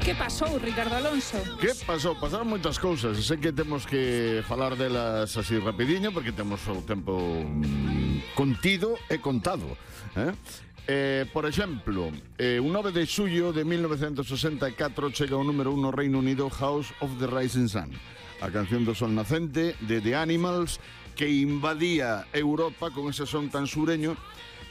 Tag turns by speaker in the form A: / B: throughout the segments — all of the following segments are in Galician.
A: Que pasou, Ricardo Alonso?
B: Que pasou? Pasaron moitas cousas. Sei que temos que falar delas así rapidiño porque temos o tempo contido e contado. Por exemplo, un 9 de xullo de 1964 chega o número 1 no Reino Unido House of the Rising Sun, a canción do sol nacente de The Animals, que invadía Europa con ese son tan sureño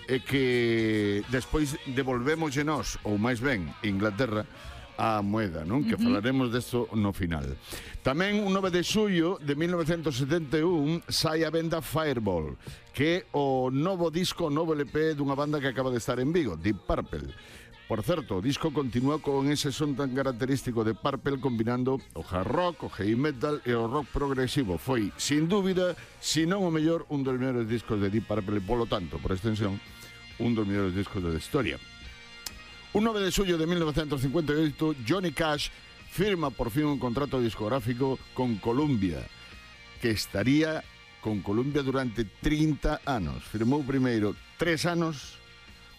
B: e que despois devolvemos nós, ou máis ben Inglaterra, a moeda, non? Que falaremos desto no final. Tamén un 9 de xullo de 1971 sai a venda Fireball, que é o novo disco, o novo LP dunha banda que acaba de estar en Vigo, Deep Purple. Por certo, o disco continúa con ese son tan característico de Purple, combinando o hard rock, o heavy metal e o rock progresivo. Foi, sin dúbida, se non o mellor, un dos mellores discos de Deep Purple e, polo tanto, por extensión, un dos mellores discos da historia. Un 9 de xullo de 1958, Johnny Cash firma por fin un contrato discográfico con Columbia, que estaría con Columbia durante 30 anos. Firmou primeiro 3 anos,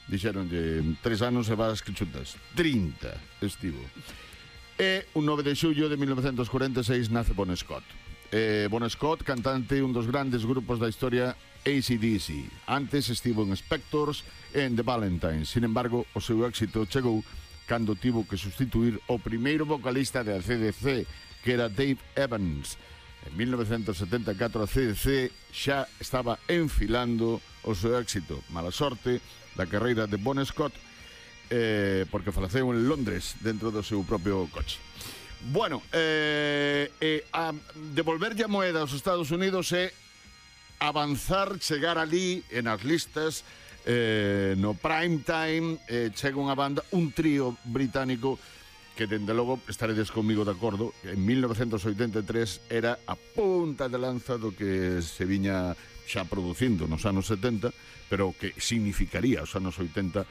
B: dixeronlle 3 anos e vas que chutas. 30 estivo. E un 9 de xullo de 1946 nace Bon Scott. Bon Scott, cantante, un dos grandes grupos da historia, AC/DC. Antes estivo en Spectors e en The Valentines. Sin embargo, o seu éxito chegou cando tivo que sustituir o primeiro vocalista de AC/DC, que era Dave Evans. En 1974 a AC/DC xa estaba enfilando o seu éxito. Mala sorte da carreira de Bon Scott, porque faleceu en Londres dentro do seu propio coche. Bueno, a devolverlle a moeda aos Estados Unidos é avanzar, chegar ali en as listas, no prime time, chega unha banda, un trío británico que, dende logo, estaredes comigo de acordo, en 1983 era a punta de lanza do que se viña xa producindo nos anos 70, pero que significaría os anos 80